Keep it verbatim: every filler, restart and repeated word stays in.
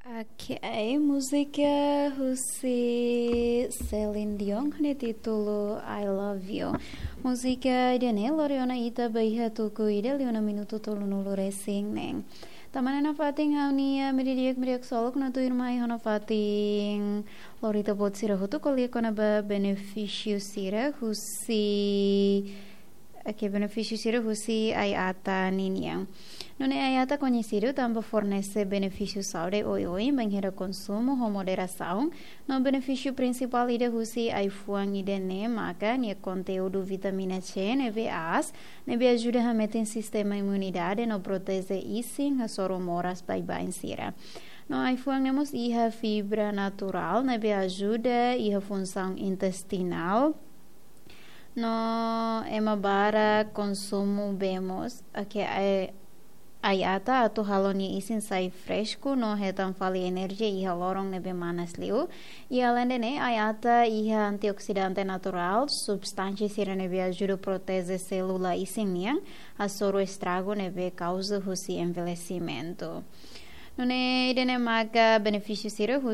Ok, múzika husi Celine Dion ho nia títulu I Love You. Múzika ida-ne'e lori ona ita ba iha tuku ida liu ona minutu tolunulu resin neen. Tama ona nafatin ha'u-nia miri-di'ak, miri-di'ak solok no tuirmai ho nafatin lori ita-boot sira hotu ko'alia kona-ba benefísiu sira husi, ok, benefísiu sira husi ai-ata ninian. Nune'e ai-ata koñesidu tanba fornese benefísiu saúde oioin bainhira konsumu ho moderasaun, no benefísiu prinsipál ida husi ai-fuan ida-ne'e maka nia konteúdu vitamina C ne'ebé aas, ne'ebé ajuda hametin sistema imunidade no proteje isin hasoru moras baibain sira. No ai-fuan ne'e mós iha fibra naturál ne'ebé ajuda iha funsaun intestinál. No ema barak konsumu bee moos, ok, ai, ai-ata atu halo nia isin sai fresku no hetan fali enerjia iha loron ne'ebé manas liu. I aleinde ne'e, ai-ata iha antioksidante naturál, substánsia sira ne'ebé ajuda proteje sélula isin nian hasoru estragu ne'ebé kauza husi envelhesimentu. Nune'e ida-ne'e maka benefísiu sira husi